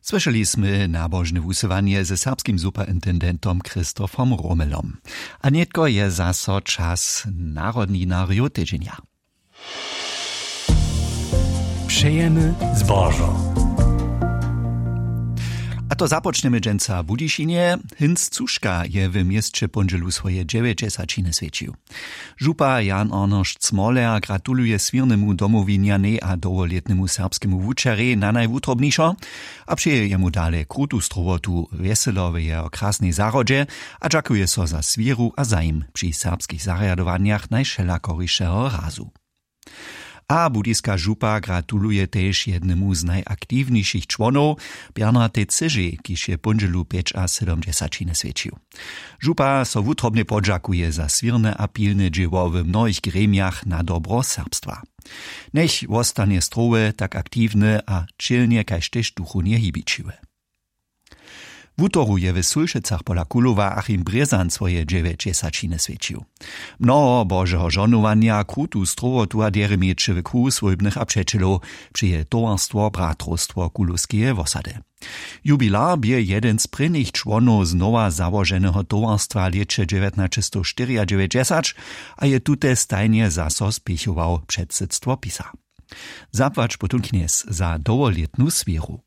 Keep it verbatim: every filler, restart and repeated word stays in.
Słyšeli smy nabožne wusyłanje ze serbskim superintendentom Christophom Romelom. A nětko je zaso čas narodninarjow tydźenja. Přejemy zbožo. A to započnjemy dźensa w Budyšinje. Hinc Cuška je w měsće póndźelu swoje dźewjećdźesaćiny swjećił. Župa Jan Arnošt Smoler gratuluje swěrnemu domowinjanej a dołholětnemu serbskemu wučerjej na najwutrobnišo a přeje jemu dale krutu strowotu, wjeselo w jeho krasnej zahrodźe a dźakuje so za swěru a zajim při serbskich zarjadowanjach najwšelakorišeho razu. A budyska župa gratuluje tež jednemu z najaktiwnišich čłonow, Bernardej Cyžej, kiž je póndźelu pjećasydomdźesaćiny swjećił. Župa so wutrobnje podźakuje za swěrne a pilne dźěło w mnohich gremijach na dobro serbstwa. Njech wostanje strowy, tak aktiwny a ćělnje kaž tež duchownje hibićiwy. Wutoru je w Sulšecach pola Kulowa Achim Brězan swoje dźewjećdźesaćiny swjećił. Mnoho božeho žohnowanja, krutu strowotu a derje měć w kruhu swójbnych a přećelow, přeje towarstwo Bratrowstwo Kulowskeje wosady. Jubilar bě jedyn z prěnich čłonow z nowa załoženeho towarstwa w lěće dźewjatnaćestowštyriadźewjećdźesać a je tute stajnje zaso spěchował předsydstwo pisa. Zapłać potom knjez za dołholětnu swěru.